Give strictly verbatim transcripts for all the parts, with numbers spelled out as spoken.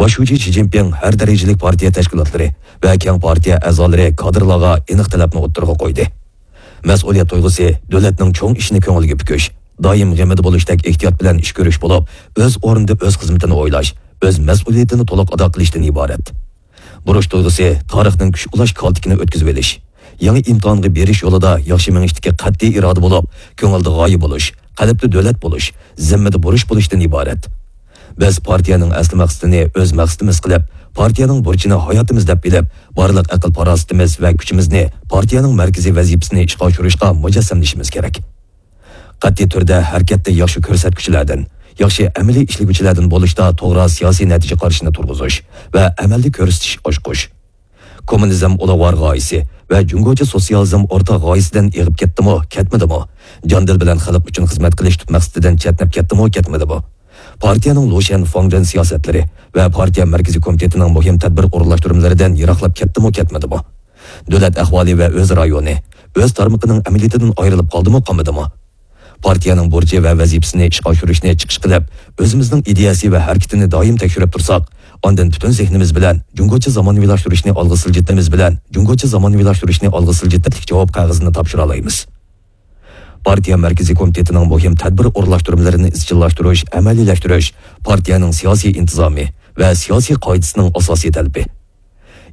باش شۇجى شى جىنپىڭ ھەر دەرىجىلىك پارتىيە تەشكىلاتلىرى ۋە كەڭ پارتىيە ئەزالىرى كادىرلارغا ئېنىق تەلەپنى ئوتتۇرىغا قويدى. مەسئۇلىيەت تۇيغۇسى، دۆلەتنىڭ چوڭ ئىشىنى كۆڭۈلگە پۈكۈش، دائىم غېمىدە بولۇشتەك ئېھتىيات بىلەن ئىش كۆرۈش بولۇپ، ئۆز ئورنىدا ئۆز خىزمىتىنى ئويلاش، ئۆز مەسئۇلىيىتىنى تولۇق ئادا قىلىشتىن ئىبارەت. بۇرچ تۇيغۇسى، تارىخنىڭ كۈچ ئۇلاش كالتىكىنى ئۆتكۈزۈۋېلىش، يېڭى ئىمتىھانغا بېرىش يولىدا ياخشى مېڭىشتىكى قەتئىي ئىرادە بولۇپ، كۆڭۈلدە غايە بولۇش، قەلبتە دۆلەت بولۇش، زىممىدە بۇرچ بولۇشتىن ئىبارەت. بىز پارتىيەنىڭ ئەسلى مەقسىتىنى ئۆز مەقسىتىمىز قىلىپ، پارتىيەنىڭ بۇرچىنى ھاياتىمىز دەپ بىلىپ، بارلىق ئەقىل-پاراسىتىمىز ۋە كۈچىمىزنى پارتىيەنىڭ مەركىزىي ۋەزىپىسىنى ئىشقا ئاشۇرۇشقا مۇجەسسەملىشىمىز كېرەك. قەتئىي تۈردە ھەرىكەتتە ياخشى كۆرسەتكۈچىلەردىن، ياخشى ئەمەلىي ئىشلىگۈچىلەردىن بولۇشتا توغرا سىياسىي نەتىجە قارىشىنى تۇرغۇزۇش ۋە ئەمەلدە كۆرسىتىش ئاچقۇچ. كوممۇنىزم ئۇلۇغۋار غايىسى ۋە جۇڭگوچە سوتسىيالىزم ئورتاق غايىسىدىن ئېغىپ كەتتىمۇ، كەتمىدىمۇ؟ جان-دىل بىلەن خەلق ئۈچۈن خىزمەت قىلىش تۈپ مەقسىتىدىن چەتنەپ كەتتىمۇ، كەتمىدىمۇ؟ پارتىيەنىڭ لۇشيەن فاڭجېن سىياسەتلىرى ۋە پارتىيە مەركىزىي كومىتېتىنىڭ مۇھىم تەدبىر ئورۇنلاشتۇرمىلىرىدىن يىراقلاپ كەتتىمۇ، كەتمىدىمۇ؟ دۆلەت ئەھۋالى ۋە ئۆز رايونى، ئۆز تارمىقىنىڭ ئەمەلىيىتىدىن ئايرىلىپ قالدىمۇ، قالمىدىمۇ؟ پارتىيەنىڭ بۇرچى ۋە ۋەزىپىسىنى ئىشقا ئاشۇرۇشنى چىقىش قىلىپ، ئۆزىمىزنىڭ ئىدىيەسى ۋە ھەرىكىتىنى دائىم تەكشۈرۈپ تۇرساق، ئاندىن پۈتۈن زېھنىمىز بىلەن جۇڭگوچە زامانىۋىلاشتۇرۇشنى ئالغا سىلجىتىمىز بىلەن جۇڭگوچە زامانىۋىلاشتۇرۇشنى ئالغا سىلجىتىپ جاۋاب قەغىزىنى تاپشۇرالايمىز. پارتىيە مەركىزىي كومىتېتىنىڭ مۇھىم تەدبىر ئورۇنلاشتۇرمىلىرىنى ئىزچىللاشتۇرۇش، ئەمەلىيلەشتۈرۈش پارتىيەنىڭ سىياسىي ئىنتىزامى ۋە سىياسىي قائىدىسىنىڭ ئاساسىي تەلىپى.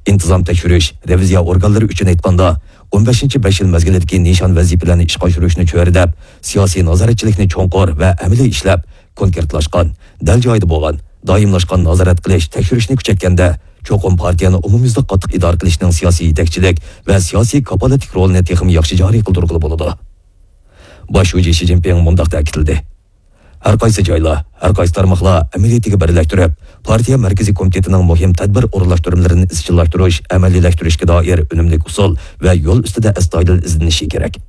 ئىنتىزام تەكشۈرۈش، رېۋىزىيە ئورگانلىرى ئۈچۈن ئېيتقاندا، ئون بەشىنچى بەش يىل مەزگىلىدىكى نىشان ۋەزىپىلەرنى ئىشقا ئاشۇرۇشنى چۆرىدەپ، سىياسىي نازارەتچىلىكنى چوڭقۇر ۋە ئەمەلىي ئىشلەپ، كونكرېتلاشقان، دەل جايىدا بولغان، دائىملاشقان نازارەت قىلىش، تەكشۈرۈشنى كۈچەيتكەندە، چوقۇم پارتىيەنى ئومۇميۈزلۈك قاتتىق ئىدارە قىلىشنىڭ سىياسىي يېتەكچىلىك ۋە سىياسىي كاپالەتلىك رولىنى تېخىمۇ ياخشى جارى قىلدۇرغىلى بولىدۇ. باش شۇجى شى جىنپىڭ مۇنداق تەكىتلىدى. ھەر قايسى جايلار، ھەر قايسى تارماقلار ئەمەلىيىتىگە بىرلەشتۈرۈپ، پارتىيە مەركىزىي كومىتېتىنىڭ مۇھىم تەدبىر ئورۇنلاشتۇرمىلىرىنى ئىزچىللاشتۇرۇش، ئەمەلىيلەشتۈرۈشكە دائىر ئۈنۈملۈك ئۇسۇل ۋە يول ئۈستىدە ئەستايىدىل ئىزدىنىشى كېرەك.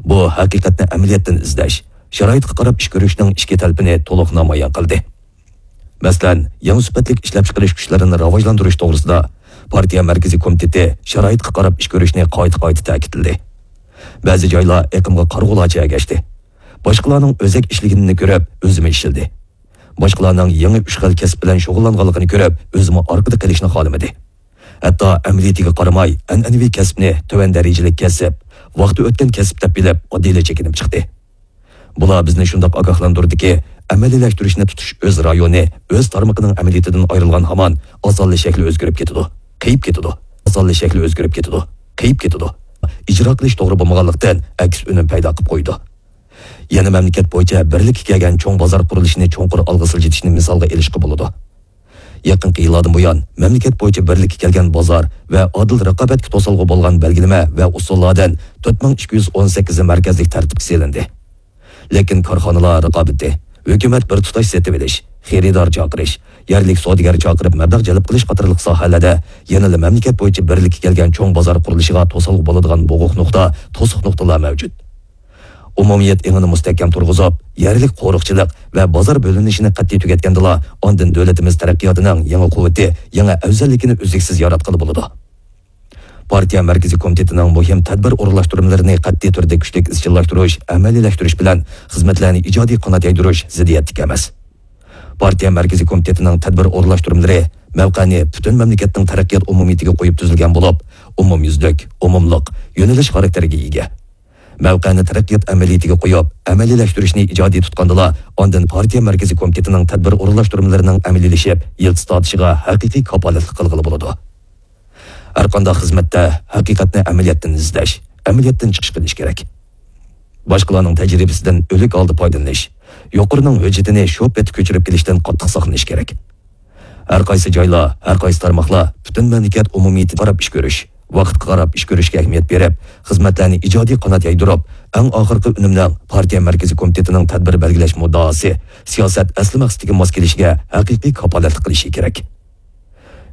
بۇ ھەقىقەتنى ئەمەلىيەتتىن ئىزدەش، شارائىتقا قاراپ ئىش كۆرۈشنىڭ ئىچكى تەلىپىنى تولۇق نامايان قىلدى. مەسىلەن، يېڭى سۈپەتلىك ئىشلەپچىقىرىش كۈچلىرىنى راۋاجلاندۇرۇش توغرىسىدا پارتىيە مەركىزىي كومىتېتى شارائىتقا قاراپ ئىش كۆرۈشنى قايتا-قايتا تەكىتلىدى. بەزى جايلار ئېقىمغا قارىغۇلارچە ئەگەشتى. باشقىلارنىڭ ئۆزەك ئىشلىگىنىنى كۆرۈپ، ئۆزىمۇ ئىشلىدى. باشقىلارنىڭ يېڭى ئۈچ خىل كەسىپ بىلەن شۇغۇللانغانلىقىنى كۆرۈپ، ئۆزىمۇ ئارقىدا قېلىشنى خالىمىدى. ھەتتا ئەمەلىيىتىگە قارىماي، ئەنئەنىۋى كەسىپنى تۆۋەن دەرىجىلىك كەسىپ، ۋاقتى ئۆتكەن كەسىپ دەپ بىلىپ، ئاددىيلا چېكىنىپ چىقتى. بۇلار بىزنى شۇنداق ئاگاھلاندۇردىكى، ئەمەلىيلەشتۈرۈشنى تۇتۇش ئۆز رايونى، ئۆز تارمىقىنىڭ ئەمەلىيىتىدىن ئايرىلغان ھامان، ئاسانلا شەكلى ئۆزگىرىپ كېتىدۇ، قېيىپ كېتىدۇ، ئاسانلا شەكلى ئۆزگىرىپ كېتىدۇ، قېيىپ كېتىدۇ. ئىجرا قىلىش توغرا بولمىغانلىقتىن، ئەكس ئۈنۈم پەيدا قىلىپ قويىدۇ. يەنە مەملىكەت بويىچە بىرلىككە كەلگەن چوڭ بازار قۇرۇلۇشىنى چوڭقۇر ئالغا سىلجىتىشنى مىسالغا ئېلىشقا بولىدۇ. يېقىنقى يىللاردىن بۇيان، مەملىكەت بويىچە بىرلىككە كەلگەن بازار ۋە ئادىل رىقابەتكە توسالغۇ بولغان بەلگىلىمە ۋە ئۇسۇللاردىن تۆت مىڭ ئىككى يۈز ئون سەككىزى مەركەزلىك تەرتىپكە سېلىندى. لېكىن كارخانىلار رىقابىتى، ھۆكۈمەت بىر تۇتاش سېتىۋېلىش، خېرىدار چاقىرىش، يەرلىك سودىگەر چاقىرىپ مەبلەغ جەلپ قىلىش قاتارلىق ساھەلەردە يەنىلا مەملىكەت بويىچە بىرلىككە كەلگەن چوڭ بازار قۇرۇلۇشىغا توسالغۇ بولىدىغان بوغۇق نۇقتا، توسۇق نۇقتىلار مەۋجۇت. ئومۇمىيەت ئېڭىنى مۇستەھكەم تۇرغۇزۇپ، يەرلىك قورۇقچىلىق ۋە بازار بۆلۈنۈشىنى قەتئىي تۈگەتكەندىلا، ئاندىن دۆلىتىمىز تەرەققىياتىنىڭ يېڭى قۇۋۋىتى، يېڭى ئەۋزەللىكىنى ئۈزلۈكسىز ياراتقىلى بولىدۇ. پارتىيە مەركىزىي كومىتېتىنىڭ مۇھىم تەدبىر ئورۇنلاشتۇرمىلىرىنى قەتئىي تۈردە كۈچلۈك ئىزچىللاشتۇرۇش، ئەمەلىيلەشتۈرۈش بىلەن خىزمەتلەرنى ئىجادىي قانات يايدۇرۇش زىددىيەتلىك ئەمەس. پارتىيە مەركىزىي كومىتېتىنىڭ تەدبىر ئورۇنلاشتۇرمىلىرى مەۋقەنى پۈتۈن مەملىكەتنىڭ تەرەققىيات ئومۇمىيىتىگە قويۇپ تۈزۈلگەن بولۇپ، ئومۇميۈزلۈك، ئومۇملۇق، يۆنىلىش خاراكتېرىگە ئىگە. مەۋقەنى تەرەققىيات ئەمەلىيىتىگە قويۇپ، ئەمەلىيلەشتۈرۈشنى ئىجادىي تۇتقاندىلا، ئاندىن پارتىيە مەركىزىي كومىتېتىنىڭ تەدبىر ئورۇنلاشتۇرمىلىرىنىڭ ئەمەلىيلىشىپ، يىلتىز تارتىشىغا ھەقىقىي كاپالەتلىك قىلغىلى بولىدۇ. ھەرقانداق خىزمەتتە ھەقىقەتنى ئەمەلىيەتتىن ئىزدەش، ئەمەلىيەتتىن چىقىش قىلىش كېرەك. باشقىلارنىڭ تەجرىبىسىدىن ئۆلۈك ھالدا پايدىلىنىش، يۇقىرىنىڭ ھۆججىتىنى شۇ پېتى كۆچۈرۈپ كېلىشتىن قاتتىق ساقلىنىش كېرەك. ھەر قايسى جايلار، ھەر قايسى تارماقلار پۈتۈن مەملىكەت ئومۇمىيىتىگە قاراپ ئىش كۆرۈش، ۋاقىتقا قاراپ ئىش كۆرۈشكە ئەھمىيەت بېرىپ، خىزمەتلەرنى ئىجادىي قانات يايدۇرۇپ، ئەڭ ئاخىرقى ئۈنۈمنىڭ پارتىيە مەركىزىي كومىتېتىنىڭ تەدبىر بەلگىلەش مۇددىئاسى، سىياسەت ئەسلى مەقسىتىگە ماس كېلىشىگە ھەقىقىي كاپالەتلىك قىلىشى كېرەك.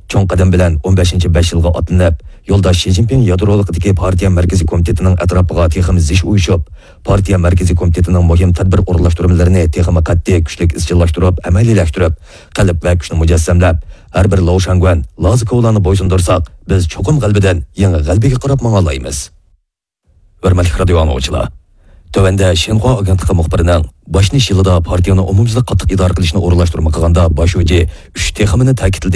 چوڭ قەدەم بىلەن ئون بەشىنچى بەش يىلغا ئاتلىنىپ، يولداش شى جىنپىڭ يادرولۇقىدىكى پارتىيە مەركىزىي كومىتېتىنىڭ ئەتراپىغا تېخىمۇ زىچ ئۇيۇشۇپ، پارتىيە مەركىزىي كومىتېتىنىڭ مۇھىم تەدبىر ئورۇنلاشتۇرمىلىرىنى تېخىمۇ قەتئىي، كۈچلۈك ئىزچىللاشتۇرۇپ، ئەمەلىيلەشتۈرۈپ، قەلب ۋە كۈچنى مۇجەسسەملەپ، ھەر بىر لوۋ شاڭگۈەن، لازى كوۋلارنى بويسۇندۇرساق، بىز چوقۇم غەلىبىدىن يېڭى غەلىبىگە قاراپ ماڭالايمىز. ھۆرمەتلىك رادىيو ئاڭلىغۇچىلار! تۆۋەندە شىنخۇا ئاگېنتلىقى مۇخبىرىنىڭ باشلىنىش يىلىدا پارتىيەنى ئومۇميۈزلۈك قاتتىق ئىدارە قىلىشنى ئورۇنلاشتۇرما قىلغاندا باش شۇجى ئۈچ تېخىمىنى تەكىتلىدى.